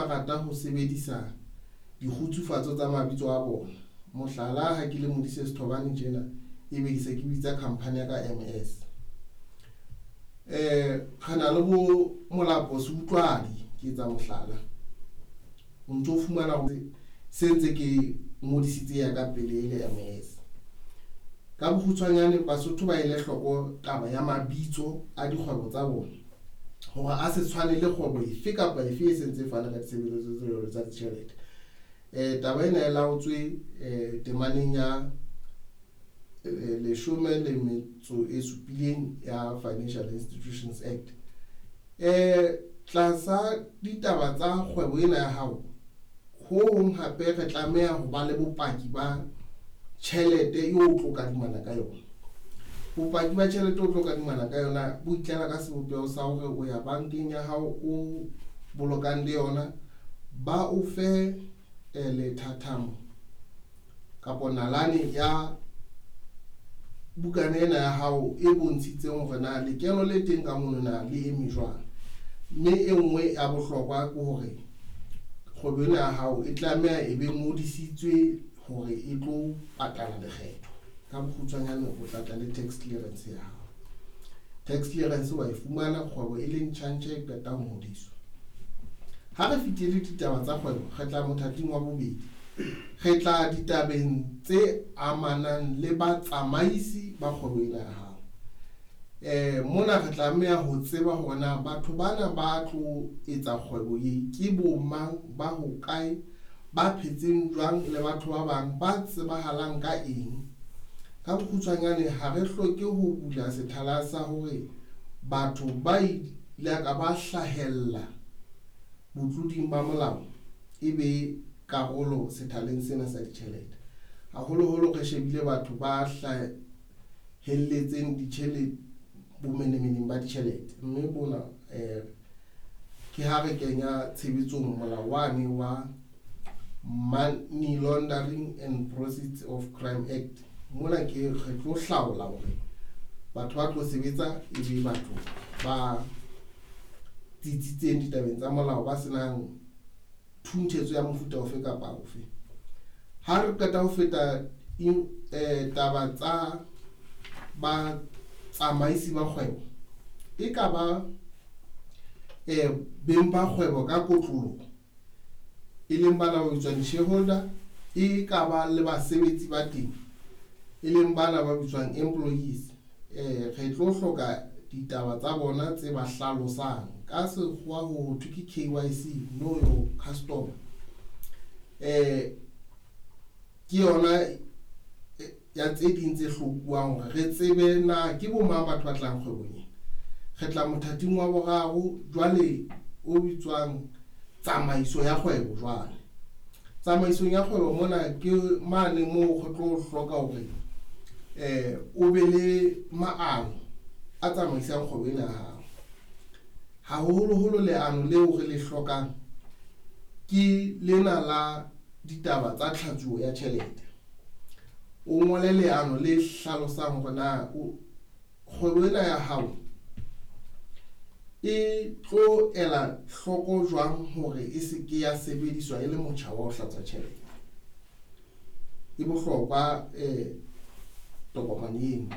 ba rata ho sebedisa dikgutsufatso tsa mabitso a bona. Mohlala, ha ke le Modise Sethobane tjena, ebe ke se ke bitsa company ya ka MS. Re na le bo Molapo Seutlwadi, ke etsa mohlala. O ntso fumana hore se ntse ke ngodisitse ya ka pele e le MS. Ka bokgutshwanyane, Basotho ba ele hloko taba ya mabitso a dikgwebo tsa bona hore a se tshwane le kgwebo efe kapa efe e sentse e fana ka ditshebeletso tse jwalo tsa ditjhelete. Taba ena e laotswe temaneng ya 17 ya Financial Institutions Act. Tlasa ditaba tsa kgwebo ena ya hao, ho hong hape re tlameha ho ba le bopaki ba tjhelete eo o tlo kadimana ka yona. Bopaki ba tjhelete o tlo kadimana ka yona bo itlela ka sebopeho sa hore o ya bankeng ya hao o bolokang le yona, ba o fe lethathamo kapa nalane ya bukana ena ya hao e bontshitseng hore na lekeno le teng ka mono na le eme jwang. Mme e nngwe ya bohlokwa ke hore kgwebo ena ya hao e tlameha e be ngodisitswe hore e tlo patala lekgetho. Ka bokgutshwanyane, o tla tla le tax clearance ya hao. Tax clearance wa e fumana kgwebo e le ntjhantjha e qeta ho ngodiswa. Ha re fetile ditaba tsa kgwebo, re tla mothating wa bobedi. Re tla ditabeng tse amanang le batsamaisi ba kgwebo ena ya hao. Mona re tlameha ho tseba hore na batho bana ba tlo etsa kgwebo e ke bo mang, ba hokae, ba phetseng jwang le batho ba bang, ba tsebahalang ka eng. Ka bokgutshwanyane, ha re hloke ho bula sethala sa hore batho ba ile ka ba hlahella botloding ba molao e be karolo sethaleng sena sa ditjhelete. Haholoholo re shebile batho ba hlahelletseng ditjhelete bomenemeneng ba ditjhelete, mme bona ke ha re kenya tshebetsong molao wane wa Money Laundering and Proceeds of Crime Act. Mona ke re tlo hlaola hore batho ba tlo sebetsa e be batho ba tsitsitseng ditabeng tsa molao, ba senang thunthetso ya mofuta ofe kapa ofe. Ha re qeta ho feta taba tsa batsamaisi ba kgwebo, e ka ba beng ba kgwebo ka kotloloho, e leng bana ba bitswang di-shareholder, e ka ba le basebetsi ba teng, e leng bana ba bitswang employees. Re tlo hloka ditaba tsa bona tse ba hlalosang, ka sekgowa ho thwe ke KYC, know your customer. Ke yona ya tse ding tse hlokuwang hore re tsebe na ke bo mang batho ba tlang kgwebong ena. Re tla mothating wa boraro jwale o bitswang tsamaiso ya kgwebo. Jwale tsamaisong ya kgwebo mona ke mane moo re tlo hloka hore o be le maano a tsamaisang kgwebo ena ya hao. Haholoholo leano leo re le hlokang ke lena la ditaba tsa tlhatsuo ya tjhelete. O ngole leano le hlalosang hore na kgwebo ena ya hao e tlo ela hloko jwang hore e se ke ya sebediswa e le motjha wa ho hlatswa tjhelete. E bohlokwa tokomane eno,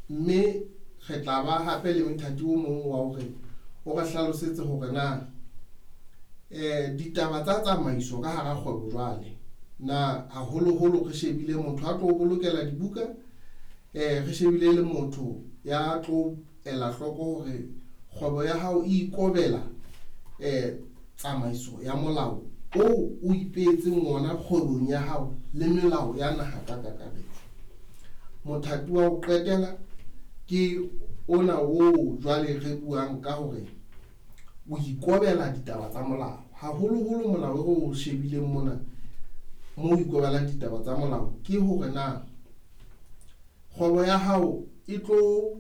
mme re tla ba hape le mothati o mong wa hore o re hlalosetse hore na ditaba tsa tsamaiso ka hara kgwebo jwale na, haholoholo re shebile motho a tlo bolokela dibuka, re shebile le motho ya tlo ela hloko hore kgwebo ya hao e ikobela tsamaiso ya molao o o ipeetseng ona kgwebong ya hao le melao ya naha ka kakaretso. Mothati wa ho qetela ke ona o jwale re buang ka hore o ikobela ditaba tsa molao. Haholoholo molao o shebileng mona mo o ikobelang ditaba tsa molao ke hore na kgwebo ya hao e tlo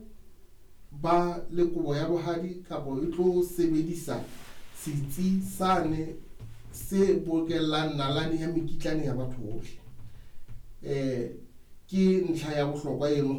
ba le kobo ya bohadi kapa e tlo sebedisa setsi sane se bokellang nalane ya mekitlane ya batho bohle. Ke ntlha ya bohlokwa eno.